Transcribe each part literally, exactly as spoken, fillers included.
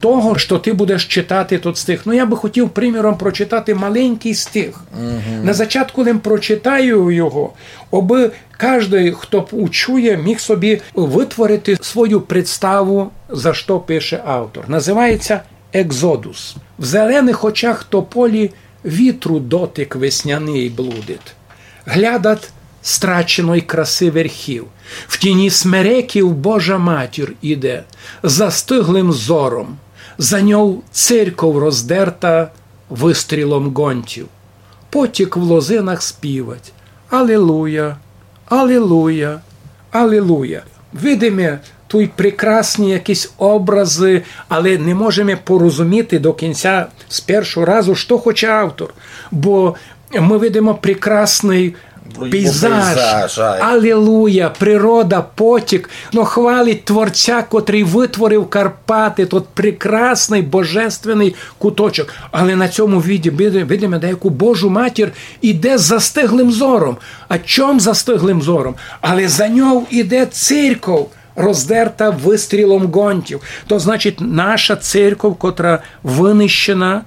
того, што ты будеш читати тот стих. Ну, я бы хотів, приміром, прочитати маленькый стих. На зачатку лем прочитаю його, обы каждый, хто п-, учує, міг собі вытворити свою представу, за што пише автор. Называється «Екзодус». В зеленых очах тополі вітру дотик весняный блудить. Глядат страченой красы верхів. В тіні смереків Божа Матір іде, застыглым зором. За ньов церков роздерта выстрілом ґонтів. Потік в лозинах співать: «Алілуя, алілуя, алілуя». Видиме туй прекрасні якісь образы, але не можеме порозуміти до кінця з першого разу, што хоче автор. Бо мы видиме прекрасный пейзаж. Пейзаж, ай. Алілуя, природа, потік. Но хвалить Творця, котрый вытворив Карпаты, тот прекрасный, божественный куточок. Але на цьому виді-, види-, видиме даяку Божу Матір іде з застыглым зором. А чом застыглым зором? Але за ньов іде церков, роздерта выстрілом ґонтів. То значить, наша церков, котра вынищена,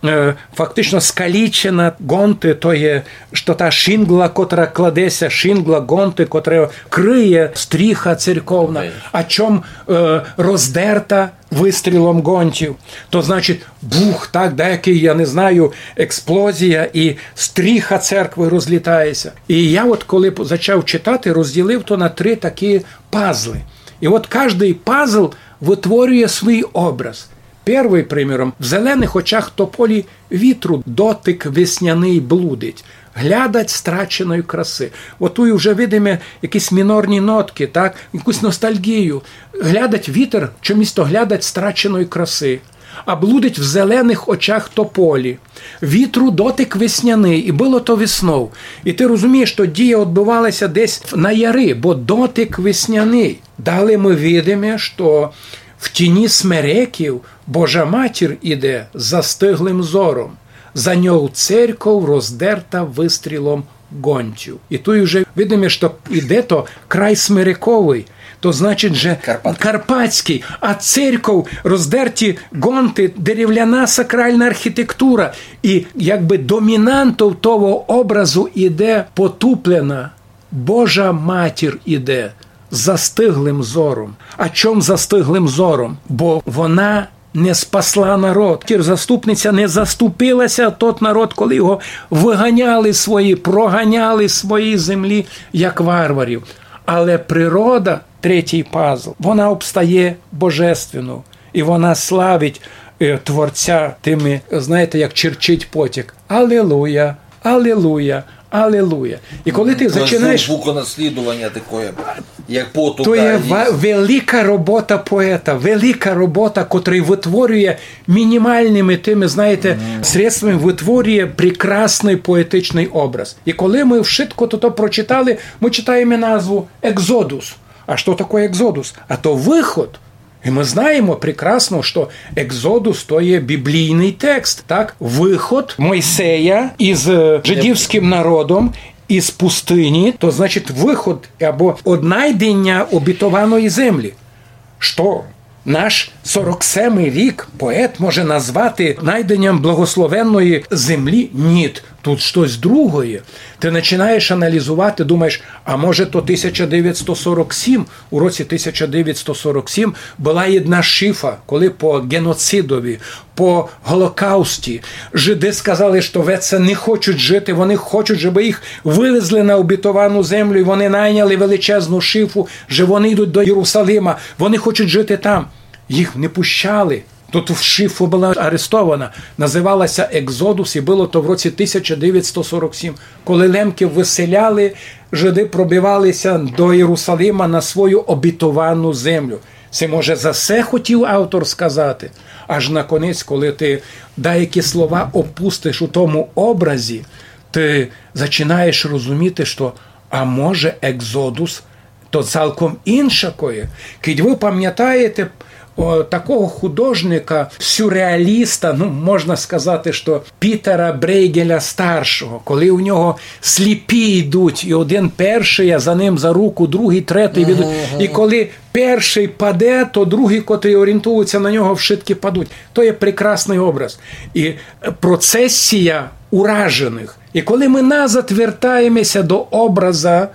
е, фактично скалічена, ґонты, то є, што та шінгла, котра кладеся, шінгла, ґонты, котра крыє стріха церковна. Ей. А чом, е, роздерта выстрілом ґонтів? То значить, бух, так, даякый, я не знаю, експлозія, і стріха церкви розлітається. І я от коли п-, зачав читати, розділив то на три такі пазлы. І от каждый пазл вытворює свій образ. Первый, приміром, в зеленых очах тополі вітру дотик весняный блудить. Глядать страченої красы. От туй уже видиме якісь мінорні ноткы, так? Якусь ностальгію. Глядать вітер, чомусь то глядать страченої красы. А блудить в зеленых очах тополі. Вітру дотик весняный, і было то веснов. І ты розумієш, што дія одбывалася десь на яри, бо дотик весняный. Далі мы видиме, што в тіні смереків Божа Матір іде застыглым зором. За ньов церков роздерта выстрілом ґонтів. І туй уже видиме, што іде то край смерековый, то значить, же карпатськый. Карпатськый. А церков, роздерті ґонты, деревляна сакральна архітектура. І якбы домінантов того образу іде потуплена. Божа Матір іде застыглым зором. А чом застыглым зором? Бо вона не спасла народ. Матір заступниця не заступилася тот народ, коли його выганяли свої, проганяли з своєї землі, як варварів. Але природа, третій пазл, вона обстає божественну. І вона славить, е, Творця тыми, знаєте, як черчить потік. Алілуя, алілуя, алілуя. І коли ты зачинаєш... Звук наслідування такоє, як потука. То є ва-, велика робота поета, велика робота, котрый вытворює мінімалными тыми, знаєте, средствами вытворює прекрасный поетичный образ. І коли мы вшытко тото прочитали, мы читаєме назву «Екзодус». А што такоє екзодус? А то выход. І мы знаєме прекрасно, што Екзодус то є біблійный текст, так? Выход Мойсея із, е, жидівськым народом із пустыні, то значить выход або однайденя обітованої землі. Што? Наш сорок семый рік поет може назвати найденям благословенної землі? Ніт. Тут штось другоє. Ты начинаєш аналізовати, думаєш, а може то тисяча девятсто сорок сім? У році тисяча девятсто сорок сім была єдна шифа, коли по ґеноцидови, по Голокаусті, жиды сказали, што веце не хочуть жити, вони хочуть, жебы їх вывезли на обітовану землю, і вони найняли величезну шифу, же вони йдуть до Єрусалима, вони хочуть жити там. Їх не пущали. Тот шифа была арестована. Называлася Екзодус, і было то в році тисяча девятсто сорок сім, коли лемків выселяли, жиды пробивалися до Єрусалима на свою обітовану землю. Се, може, за се хотів автор сказати. Аж наконець, коли ты даякі слова опустиш у тому образі, ты зачинаєш розуміти, што, а може, Екзодус то цалком иншакоє. Кідь вы памнятаєте, О, такого художника, сюрреаліста, ну, можна сказати, што Пітера Брейґеля старшого, коли у нього сліпі йдуть, і один першый, а за ним за руку другый, третій, від... і коли першый паде, то другі, котрі орієнтуються на нього, вшыткі падуть. То є прекрасный образ. І процесія ураженых. І коли мы назад вертаємеся до образа,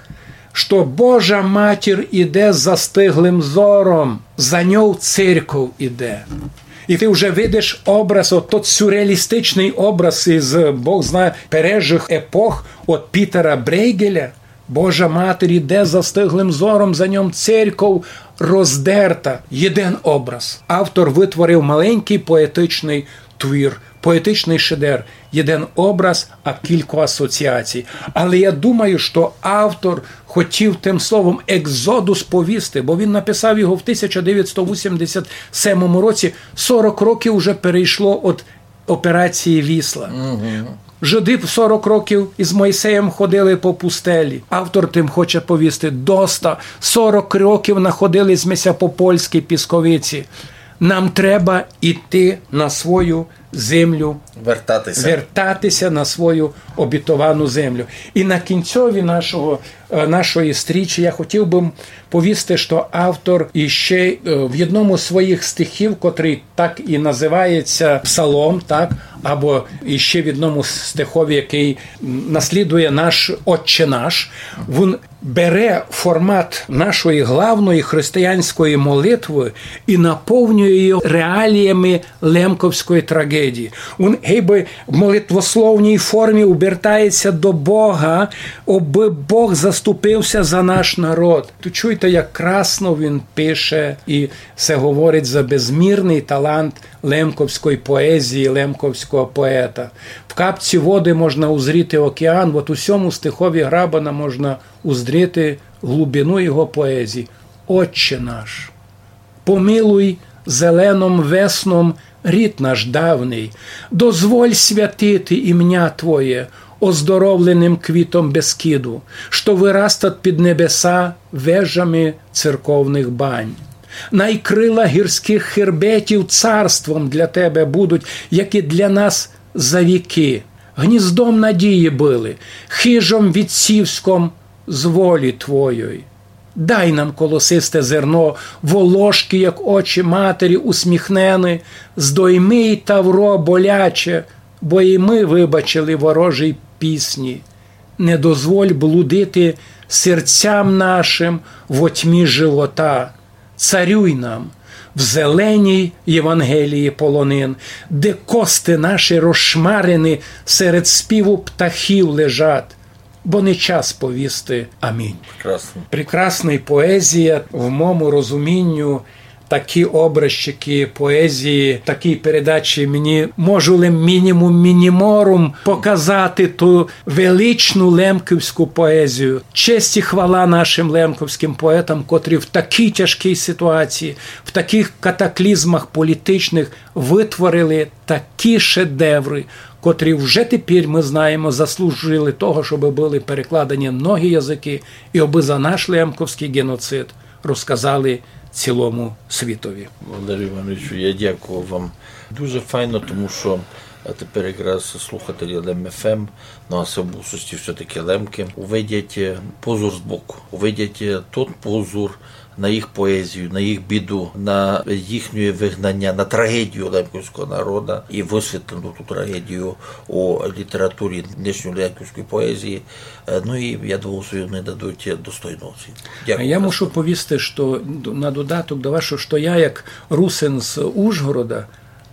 што Божа Матір іде з застиглым взором, за ньов церков іде. І ты вже видиш образ, от тот сюрреалістичный образ із, Бог знає, пережых епох, от Пітера Брейґеля, Божа Матір іде з застиглым взором, за ньом церков роздерта. Єден образ. Автор вытворив маленькый поетичный твір, поетичный шедевр. Єден образ, а кілько асоціацій. Але я думаю, што автор хотів тым словом Екзодус повісти, бо він написав його в тисяча девятсто вісімдесят семому році, сорок років уже перейшло од операції Вісла. Жиды в сорок років із Мойсеєм ходили по пустелі. Автор тым хоче повісти: доста, сорок років находили сьме ся по польській пісковиці. Нам треба іти на свою землю, Вертатися. Вертатися на свою обітовану землю. І на кінцьові нашого, е, нашої стрічі я хотів бы повісти, што автор іще, е, в єдному з своїх стихів, котрый так і называється Псалом, так, або іще в єдному стихові, якый, м, наслідує наш Отче наш, він бере формат нашої главної християнської молитвы і наповнює її реаліями лемковської трагедії. Він гейбы в молитвословній формі обертається до Бога, обы Бог заступився за наш народ. Ту чуйте, як красно він пише, і се говорить за безмірный талант лемковської поезії, лемковського поета. В капці воды можна узріти океан, от у сьому стихові Грабана можна узріти глубину його поезії. Отче наш, помилуй зеленом весном рід наш давній, дозволь святити імня Твоє оздоровленым квітом Бескіду, што вырастат під небеса вежами церковных бань. Най крила гірськых хербетів царством для Тебе будуть, як і для нас за вікы, гніздом надії были, хижом віцівськом з волі Твоєй. Дай нам колосисте зерно, волошкы, як очі матері усміхнены, здойми й тавро боляче, бо і мы выбачили ворожій пісні. Не дозволь блудити серцям нашим во тьмі живота. Царюй нам в зеленій Євангелії полонин, де кости наші розшмарені серед співу птахів лежать, бо не час повісти амінь. Прекрасно. Прекрасна поезія в мому розумінню. Такі образчикы поезії, такій передачі мені можу лем мінімум мініморум показати ту величну лемківську поезію. Честь і хвала нашим лемковським поетам, котрі в такій тяжкій ситуації, в таких катаклізмах політичных вытворили такі шедевры, котрі вже тепер, мы знаєме, заслужили того, щоб были перекладені на многі языкы, і обы за наш лемковськый геноцид розказали цілому світові. Валерію Івановичу, я дякую вам. Дуже файно, тому що, а, тепер якраз слухателі Лем Ф М, ну, а се в більшості все-таки лемки, увидять, е, позор збоку, увидять, е, тот позор на їх поезію, на їх біду, на їхнє вигнання, на трагедію лемківського народу і висвітлену ту трагедію у літературі нинішньої лемківської поезії. Е, ну і, я думаю, що вони дадуть достойну оцінку. А я мушу повісти, што д-, на додаток до вашого, што я, як русин з Ужгорода,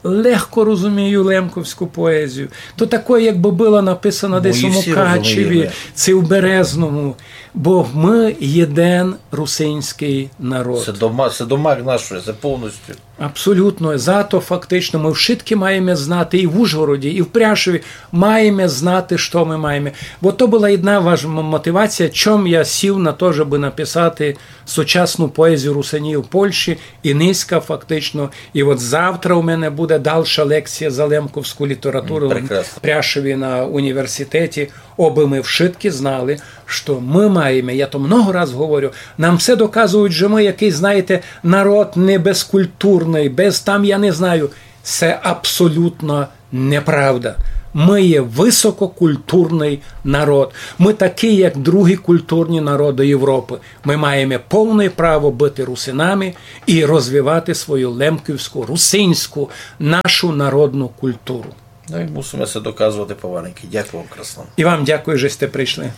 легко розумію лемковську поезію. То такоє, якбы была написана десь у Мукачеві, ци у Березному. Бо мы єден русинськый народ. Се домак, се домак нашої, се повністю. Абсолютно. Зато фактично мы вшыткі маєме знати і в Ужгороді, і в Пряшові маєме знати, што мы маєме. Бо то была єдна важ-, м-, мотивація, чом я сів на то, щоб написати сучасну поезію русинів Польщі, і нынька фактично, і от завтра у мене буде Дальша лекція за лемковську літературу в Пряшові на університеті, обы мы вшыткі знали, што мы маєме, я то много раз говорю, нам все доказують, што мы якыйсь, знаєте, народ небезкультурный, без там, я не знаю. Се абсолютно неправда. Мы є высококультурный народ. Мы такый, як другі культурні народы Європы. Мы маєме повне право быти русинами і розвивати свою лемківську, русинську, нашу народну культуру. Но і мусиме ся доказовати помаленькы. Дякую вам красно. І вам дякую, што сьте пришли.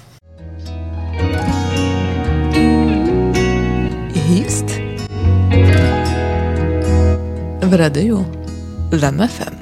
Гіст в радію Лем ФМ.